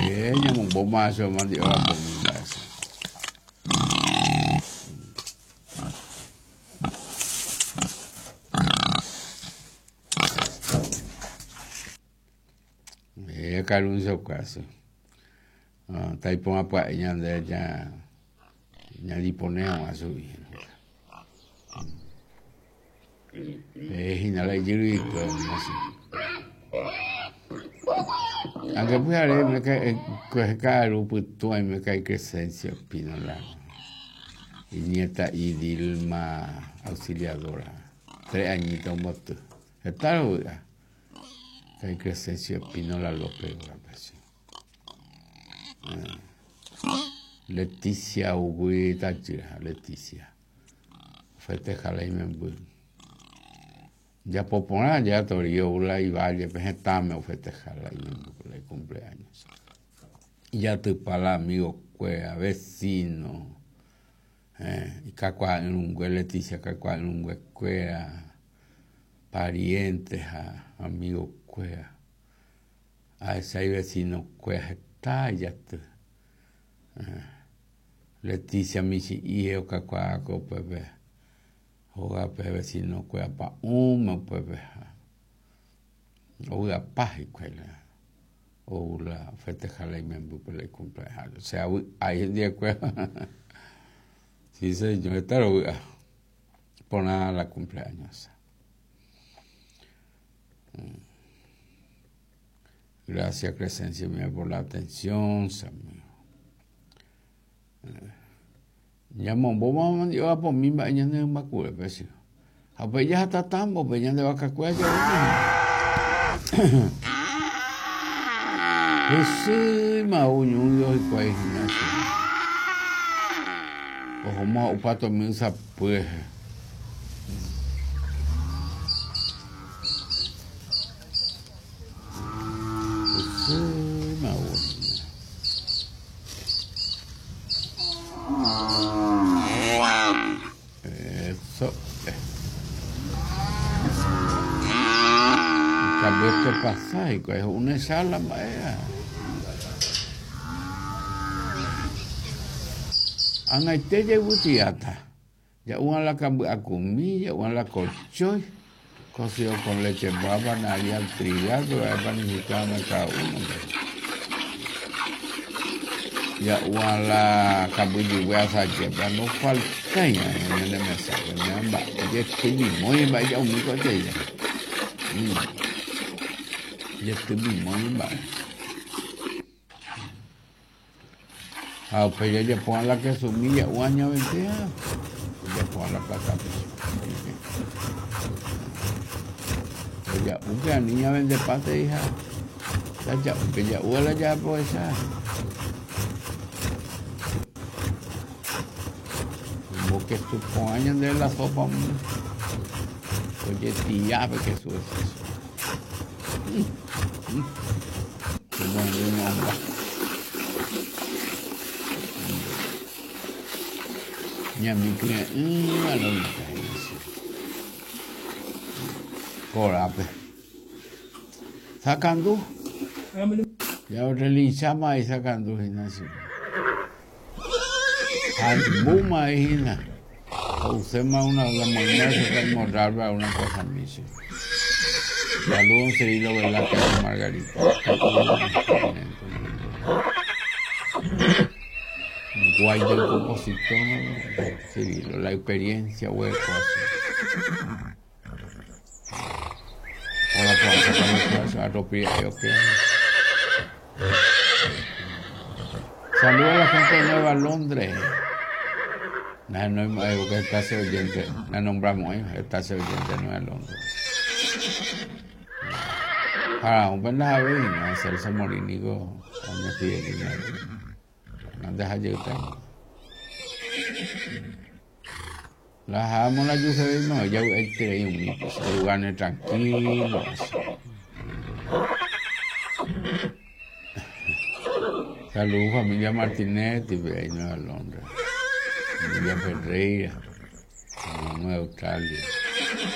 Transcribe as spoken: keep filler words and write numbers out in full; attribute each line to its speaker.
Speaker 1: Eh, ñamombo macho mandi'o apomi mba'e. Eh, Caruncio caso. Ah, taipóma pya'e ñande ña ñadipone hag̃ua chugui. Eh, hína la ijyryikuéra así. Aunque pyhare me ka'aru pytũ aime ka'i Crescencio Espínola y nieta y Dilma Auxiliadora. Tres añitos omboty. Heta rovy'a. Ka'i Crescencio Espínola López rógape. Leticia Ugui tajýra, Leticia. Festeja la imemby. Japo porã ja Torío la Ivallepe hetãme ofesteja la imemby la icumpleaños. Ijatypa la amigokuéra, vecino, eh, ikakuaa irũngue Leticia kakuaa irũnguekuéra, pariente ha amigokuéra. Ahecha ivecinokuéra heta ijaty. Eh, Leticia michĩ'i okakuaáko upépe hógape vecinokuéra pa'ũme upépe ha ovy'apa hikuái la ou la ofesteja la imembýpe la icumpleaños. Che avy'ái hendivekuéra. Sí, señor, heta rovy'a. Porã la cumpleaños. Gracias, Crescencio mía, por la atención, amigo. Ñamombóma mandi'o apomi mba'e ñane rymbakuépe che. Ha upéi jahatatãmbope ñande vakakuéra javéne. Hysýima ou ñúi hikuái hína che. Ohóma ho'upa tomi ysapy rehe. Hysýima ou hína. Eso. En cambio esto pasa hikuái ho'úne chala mba'e. Ag̃aite jayvytiáta. Ja'úva la kamby'akumi, ja'úva la kochói, cocido con leche en panadería trigal, pero hay panificado cada uno. Ja'úva la kambyjygue asaje, pero no falta ñane mesápe, mba'e jetymimói mba'e ja'umi ko'ẽteíre. Jetymimói mba'e. Ha upéi jajapóva la quesumi ja'úva ñaventéa. Jajapóva la platape. Ja'úpe ani ñavendepáte hija. Ja'úpe ja'úva la jaaprovecha. Como queso porã ñande la sopa ojetillápe queso es eso. Como ñomba. Ñamikyre'ỹva lo mitã. Korápe. Sakandu. Ya relinchama ahí sakandu hína che. Hambúma ahí hína. Uséma una la moña se morrarba una cosa miche. Saludos Cirilo Velázquez Margarita. Guay del compositor Cirilo, la experiencia hueco así. Hola, saludos a la gente de Nueva Londres. No, no, porque está ese oyente, la nombramos, ¿eh? Está ese oyente de Nueva Londres. Para un buen la ¿no? Celso Morínigo, doña Fidelina. No deja llegar. La amo la yuce, no, ella quiere ir un lugar tranquilo. Saludos familia Martinetti, ahí Nueva Londres. Familia Ferreira, Nueva Australia.